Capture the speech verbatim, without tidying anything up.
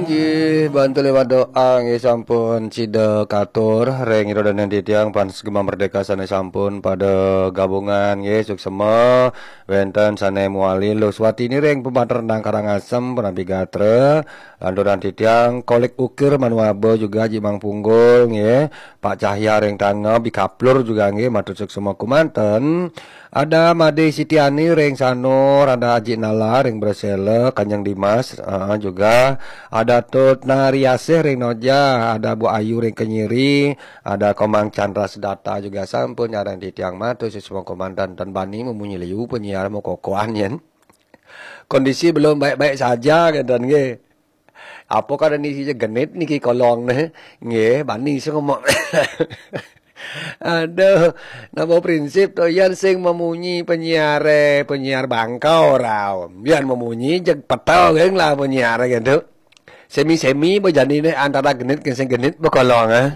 Inggih, bantu lewat doa nggih sampun sida katur ring ira dané titiang fans Gema Merdeka sané sampun pada gabungan nggih, suksema. Wénten sané mawali Luh Swatini ring Pematernang Karangasem, punapi gatra. Lanturang titiang Kolik Ukir Manuaba juga Haji Mang Punggul nggih, Pak Cahya ring Tanga, Bikaplur juga nggih, matur suksema kumanten. Ada Made Sitiani ring Sanur, ada Haji Nala ring Bresela, Kanjeng Dimas, ah, juga ada Tut Nariasih ring Noja, ada Bu Ayu ring Kenyiri, ada Komang Chandra Sedata juga sampun nyarengin titiang, matur suksema kumanten. Tan bani mamunyi liu penyiar makokohan yén. Kondisi belum baik-baik saja, kénten nggih. Apa kadén isi genit niki kolong né? Nggih, bani sing ngomong. Aduh, napa prinsip to, yén sing mamunyi penyiaré, penyiar bangka ora. Yén mamunyi jeg peta geng lah penyiaré gitu. Semi-semi apa janiné antara genit ke sing genit apa kolong, eh?